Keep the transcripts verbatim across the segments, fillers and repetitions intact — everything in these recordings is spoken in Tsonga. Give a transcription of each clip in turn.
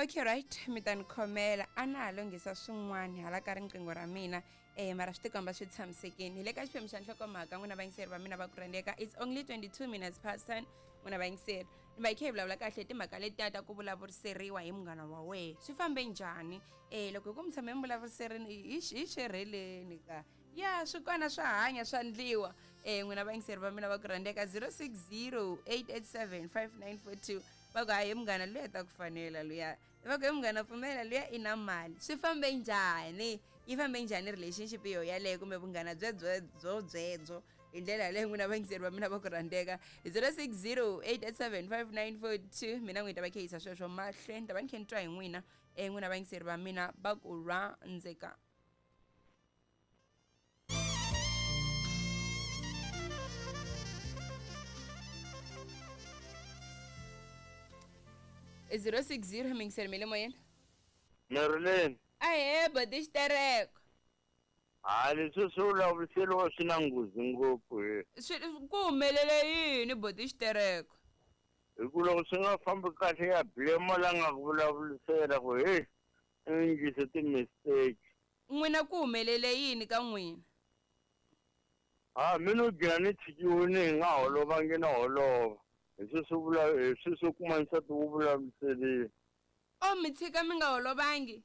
Okay, right, mi ta ni khomela a na ha lunghisa swin'wana hala ka riqingho ra mina eh mara swi tikomba swi tshamisekile. Hi le ka xiphemu xa nhlokomhaka n'wina vayingiseri va mina va ku rhandzeka. It's only twenty-two minutes past ten n'wina vayingiseri. Ni va hi kha hi vulavula kahle hi timhaka letiya ta ku vulavuriseriwa hi munghana wa wena. Swi fambe njhani? Eh loko hi ku mi tshame mi vulavuriserini hi hi xerheleni ka. Ya swi kona swa hanya swa ndliwa. Eh n'wina vayingiseri va mina va ku rhandzeka zero six zero eight eight seven five nine four two. Va ku hayi munghana luya ta ku fanela luya. Va ku munghana pfumela luya i na mali. Swi fambe njhani? Yi fambe njhani relationship yo yaleyo kumbe vunghana byebyo byo byebyo hi ndlela yaleyo n'wina vayingiseri va mina va ku rhandzeka zero six zero eight eight seven five nine four two. Mina n'wi ta va khehisa sweswo mahlweni ta va ni khe ni twa hi n'wina eh n'wina vayingiseri va mina va ku rhandzeka. zero six zero mingiseri mi le moyeni. Marilyn. Ahee boti xitereko. Hayi leswi swi vulavuriseriwa swi na nghozi ngopfu he. Swi ku humelele yini boti xitereko? Hi ku loko swi nga fambi kahle ya blame la nga ku vulavurisela ku he i endlise ti-mistake. N'wina ku humelele yini ka n'wina? Ha mina u gcina ni tshikiwile hi nga holovangi na holova. Hi sweswo vula hi sweswo kuma nsati wu vulavuriseriwa. O mi tshika mi nga holovangi?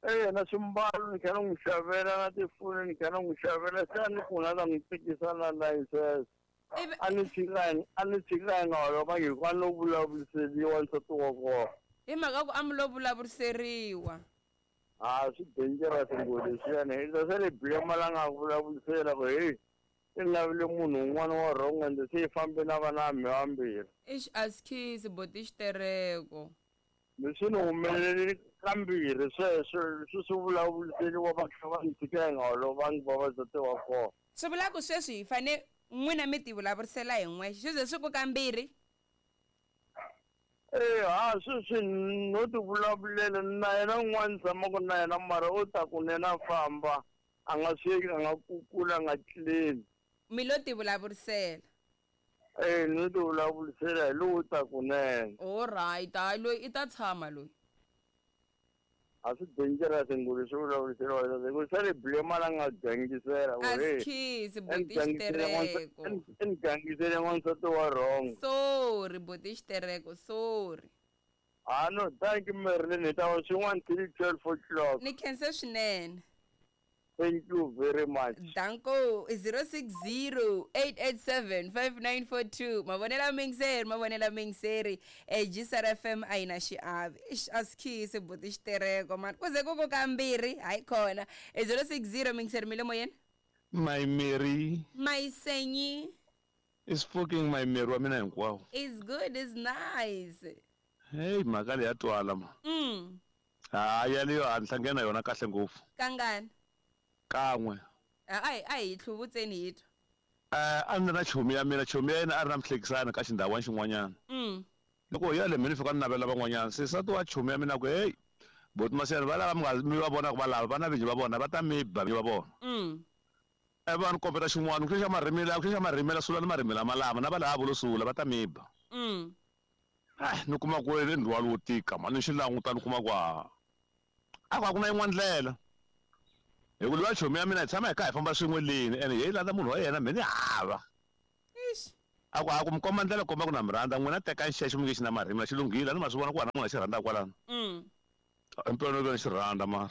Eh na swimbalo ni kha ni n'wi xavela na tifoni ni kha ni n'wi xavela se a ni ku na ta n'wi tikisa na license. A ni tshika a ni tshika hi nga holovangi hikuva no vulavuriseriwa nsati wa kona. Hi mhaka ku a mi lo vulavuriseriwa. Ha swi dangerous ngopfu leswiyani hi ta se ni blame la nga vulavurisela ku hey i lavile munhu un'wana wa wrong ende se yi fambe na vana va vambirhi. Ixi a swi khisi boti xitereko. Leswi ni humelele kambirhi sweswo leswi swi vulavuriseriwa va kha va ni tshika hi nga holovangi vavasati wa kona. Swi vula ku sweswi hi fane n'wina mi ti vulavurisela hi n'wexe swi ze swi ku kambirhi? Eh ha sweswi no ti vulavulela na yena un'wana ni tshamaka na yena mara u ta kunene a famba a nga sweki a nga kukula a nga tleli. Mi lo ti vulavurisela? Eh no ti vulavurisela hi lowu ta kunene. All right, hayi loyi i ta tshama loyi. A swi dangerous ngopfu leswi vulavuriseriwa hi ku se ni blame la nga gangisela A swi khisi boti xitereko. I ni gangisele n'wansati wa wrong. Sorry boti xitereko, sorry. Ah no, thank you Marilyn, hi ta va swin'wana till twelve o'clock. Ni khense swinene. Thank you very much. Danko zero six zero eight eight seven five nine four two. Mavonela mingiseri, mavonela mingiseri. Eh G S R F M a yi na xiave. Ixi a swi khisi buti xitereko man. Ku ze ku ku kambirhi hayi khona. zero six zero mingiseri mi le moyeni. My Mary. My Senyi. Is fucking my Mary wa mina hinkwawo. It's good, it's nice. Hey mhaka leyi ya twala ma. Mm. Ha yaleyo a ni hlangana yona kahle ngopfu. Kangani? Kan'we. A a hi tlhuvutseni hi twa. Eh a ni na chomi ya mina, chomi ya yena a ri na muhlekisani ka xindhawana xin'wanyana. Mm. Loko hi ya le mina fika ni navela van'wanyana se nsati wa chomi ya mina ku hey boti Masiyana va lava mi nga mi va vonaka va lava va na vinyi va vona va ta mi ba va vona. Mm. E va ni kombeta xin'wana ku xa marimela ku xa marimela sula ni marimela malama na va lava vo sula va ta mi ba. Mm. Ah ni kuma ku ri ndzhwalo wo tika mani xi languta ni kuma ku a a ku na yin'wana ndlela. Hi ku luya chomi ya mina hi tshama hi kha hi famba swin'we leni ene hi landza munhu wa yena mina ni hava. Ixi. A ku a ku mi komba ndlela komba ku na mi rhandza n'wina teka xexo mi nge xi na marimi xi lunghile ni ma swi vona ku wena munhu a xi rhandza kwalano. Mm. Impela no xi rhandza mara.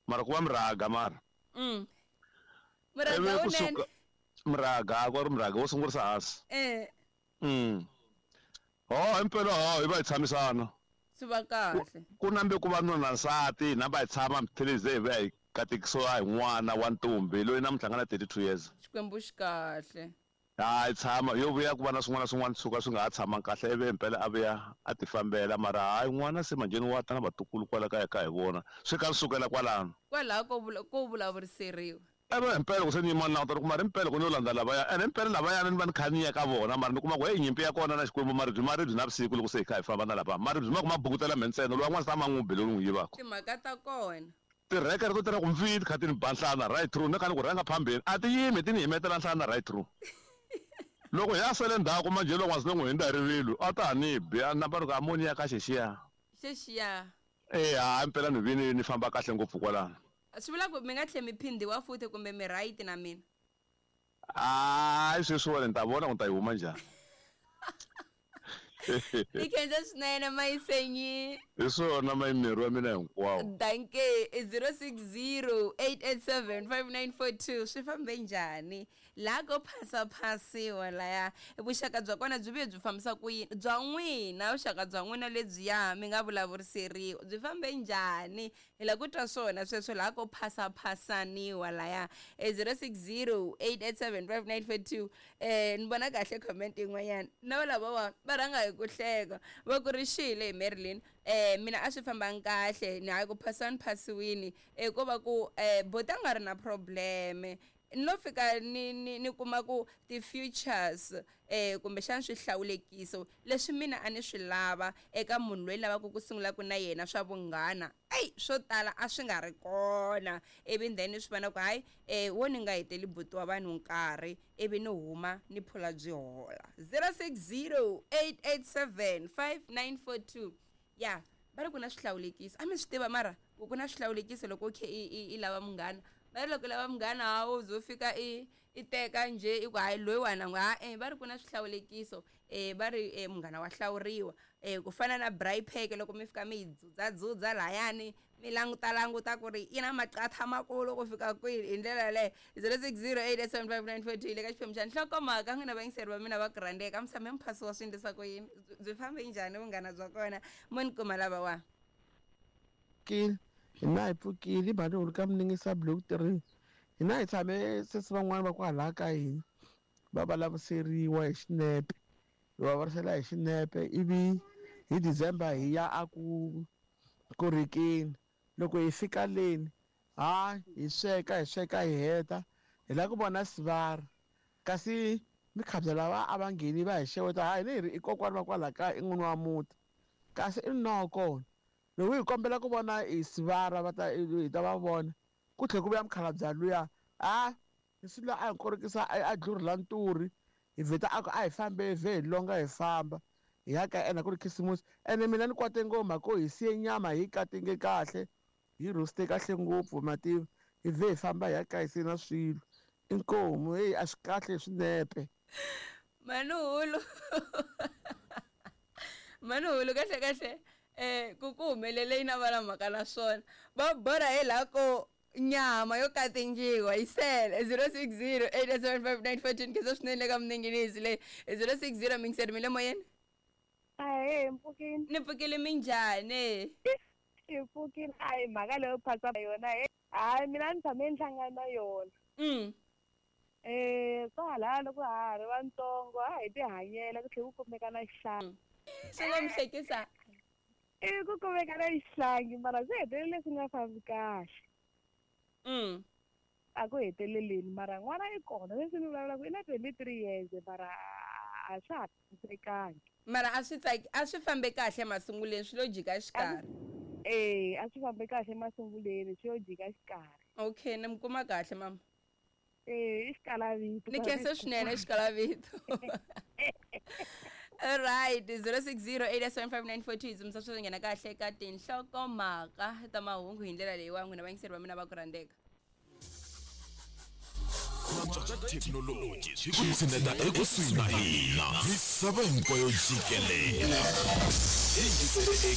Mara ku va miraga mara. Mm. Miraga unene. Miraga ku ri miraga wo sungurisa hansi. Eh. Mm. Ho impela ho hi va hi tshamisana. Swi va kahle. Ku nambe ku va nuna nsati namba hi tshama mithilize hi va hi katekisiwa hi n'wana wa ntombi loyi namuntlha nga na thirty-two years. Xikwembu xi kahle. Hayi tshama yo vuya ku va na swin'wana na swin'wana suka swi nga ha tshamanga kahle ivi impela a vuya a ti fambela mara hayi n'wana se manjheni wa ta na vatukulu kwala kaya ka hi vona swi ka sukela kwalano. Kwalaho ko ko vulavuriseriwa. Eve impela ku se ni yima ni languta ku mara impela ku ni yo landza lavaya ene impela lavayana ni va ni kha ni ya ka vona mara ni kuma ku hey nyimpi ya kona na Xikwembu maribye maribye na vusiku loko se hi kha hi famba na lava maribye ma ku ma bukutela me ntsena loyi wan'wana se a ma n'wi bele n'wi yivaka. Timhaka ta kona. Tirheke ri to tirha ku mfini kha ti ni ba nhlana right through ni kha ni ku rhanga phambeni a ti yimi ti ni himetela nhlana right through. Loko ya sele ndzhaku manjhe loko n'wazi n'wi hundza hi rivilo a ta ha ni bi a namba ni ku amoni ya ka xexiya. Xexiya. Eh ha impela ni vini ni famba kahle ngopfu kwalano. Swi vula ku mi nga tlhe mi phindiwa futhi kumbe mi right na mina? Hayi sweswiwani ni ta vona ku ni ta yi huma njhani. Ni khensa swinene Mayisenyi. Hi swona mayimeri wa mina hinkwawo. Danke. Zero six zero eight eight seven five nine four two. Swi fambe njhani laha ko phasaphasiwa laya? Vuxaka bya kona byi vuye byi fambisa ku yini? Bya n'wina vuxaka bya n'wina lebyiya mi nga vulavuriseriwa byi fambe njhani? Hi lava ku twa swona sweswo laha ko phasaphasaniwa laya. Zero six zero eight eight seven five nine four two. Eh ni vona kahle comment yin'wanyana na lavawa va rhanga hi ku hleka va ku ri xile hi Marilyn. Eh mina a swi fambanga kahle ni hayi ku phasani phasiwini eh ko va ku eh bota nga ri na problem no fika ni ni ni kuma ku ti futures eh kumbexana swihlawulekiso leswi mina a ni swi lava eka munhu loyi lavaka ku sungula ku na yena swa vunghana ey swo tala a swi nga ri kona ivi then swi vona ku hayi eh wo ni nga heteli buti wa vanhu nkarhi ivi ni huma ni phula byi hola. Zero six zero eight eight seven five nine four two. Ya va ri ku na swihlawulekiso a mi swi tiva mara ku ku na swihlawulekiso loko u khe i i lava munghana. Va ri loko lava munghana wa wo fika i i teka njhe i ku hayi loyiwani nga ha eh va ri ku na swihlawulekiso eh va ri eh munghana wa hlawuriwa eh ku fana na braai pack loko mi fika mi yi dzudzadzudza lahayani mi languta languta ku ri yi na maqatha makulu ku fika kwihi hi ndlela yaleyo. Zero six zero eight eight seven five nine four two le ka xiphemu xa nhlokomhaka n'wina vayingiseri va mina va ku rhandzeka mi tshame mi phasiwa swi endlisa ku yini byi fambe njhani vunghana bya kona mo ni kuma lavawa. Hina hi pfukile mhani u ri ka miningisa block three. Hina hi tshame sesi van'wani va kwalaha ka hina va vulavuriseriwa hi xinepe hi va vulavurisela hi xinepe ivi hi December hi ya a ku ku rikeni loko hi fika leni ha hi sweka hi sweka hi heta hi lava ku vona sivara kasi mikhabya lava a va ngheni va hi xeweta ha hina hi ri i kokwani va kwalaha kaya i n'wini wa muti kasi i nuna wa kona loko hi kombela ku vona hi sivara va ta hi ta va vona ku tlhela ku vuya mukhalabye luya a hi luya a hi korokisa a dlurhela nturi hi vheta a ku a hi fambe vhe hi longa hi famba hi ya ka ena ku ri khisimusi ene mina ni kwate ngoma ko hi siye nyama hi katinge kahle hi roaste kahle ngopfu mativa hi vhe hi famba hi ya ka hi siye na swilo inkomu heyi a swi kahle swinepe manuhulu manuhulu kahle kahle eh ku ku humelele yi na va na mhaka na swona va borha hi laha ko nyama yo katingiwa yi sele zero six zero eight seven five nine four two khensa swinene ka mininginizi leyi zero six zero mingiseri mi le moyeni. Ahee mpfukini. Ni pfukile minjhani? Hi pfukile a hi mhaka leyo phasa yona hayi mina ni tshame ni hlangana na yona. Mm. Eh kwalaya loko ha ha ri vantsongo a hi tihanyela ku tlhela ku kumeka na xihlangi. Swi nga mi hlekisa? I ku kumeka na xihlangi mara swi hetelele swi nga fambi kahle. Mm. A ku heteleleni mara n'wana i kona leswi ni vulavulaka i na twenty-three years mara a swa ha tshamisekangi. Mara a swi tsaki a swi fambe kahle masunguleni swi lo jika xikarhi. Eh a swi fambe kahle masunguleni swi yo jika xikarhi. Okay ni mi kuma kahle mama. Eh i xikalavito. Ni khensa swinene xikalavito. All right, zero six zero eight seven five nine four two hi dzumisa swi nghena kahle ka tinhlokomhaka ta mahungu hi ndlela leyiwa n'wina vayingiseri va mina va ku rhandzeka. Thekinoloji swi ku tshineta ekusuhi na hina misava hinkwayo jikelele.